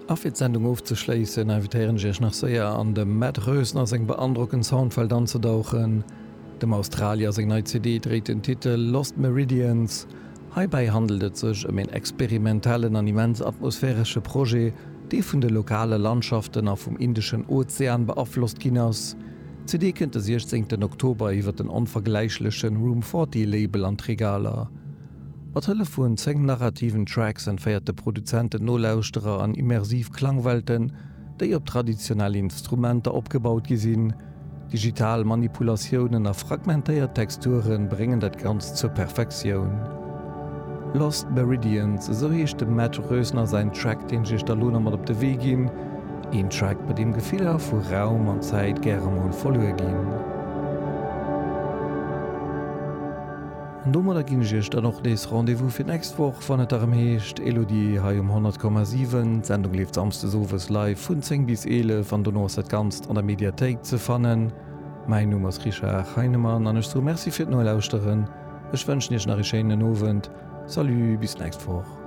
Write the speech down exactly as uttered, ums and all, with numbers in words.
A fir d'Sendung ofzeschléissen, invitéieren ech iech nach séier an dem Matt Roesner seng beandrockend Soundwelt anzedauchen. Dem Australier seng nei C D dréit den Titel Lost Meridians. Heibäi handelt et sech ëm een experimentellen an immens atmosphäresche Projet, dee vun de lokale Landschaften a vum Indeschen Ozean beaflosst ginn ass. D'C D kënnt de siechzéngten Oktober iwwer den onvergläichlechen Room Forty Label an d'Regaler. Mat Hëllef vun zéng narrativen Tracks entféiert de Produzent den Nolauschterer an immersiv Klangwelten, déi op traditionell Instrumenter opgebaut gi sinn. Digital Manipulatiounen a fragmentéiert Texture bréngen dat Ganzt zur Perfektioun. Lost Meridians, esou heescht dem Matt Roesner säin Track, deen ech iech da lo nach mat op de Wee ginn. Een Track, bei deem Gefiller vu Raum an Zäit gäre mol verluer ginn. An domadder ginn ech iech dann och nees Rendez-vous fir d'nächst Woch, wann et erëm heescht Elodie hei um honnert Komma siwen. D'Sendung leeft samsdes owes live vun zéng bis eelef an dono ass dat Ganzt an der Mediathéik ze fannen. Mäin Numm ass Richard Heinemann an ech soe Merci fir d'Nolauschteren. Ech wënschen iech nach ee schéinen Owend. Salut, bis d'nächst Woch.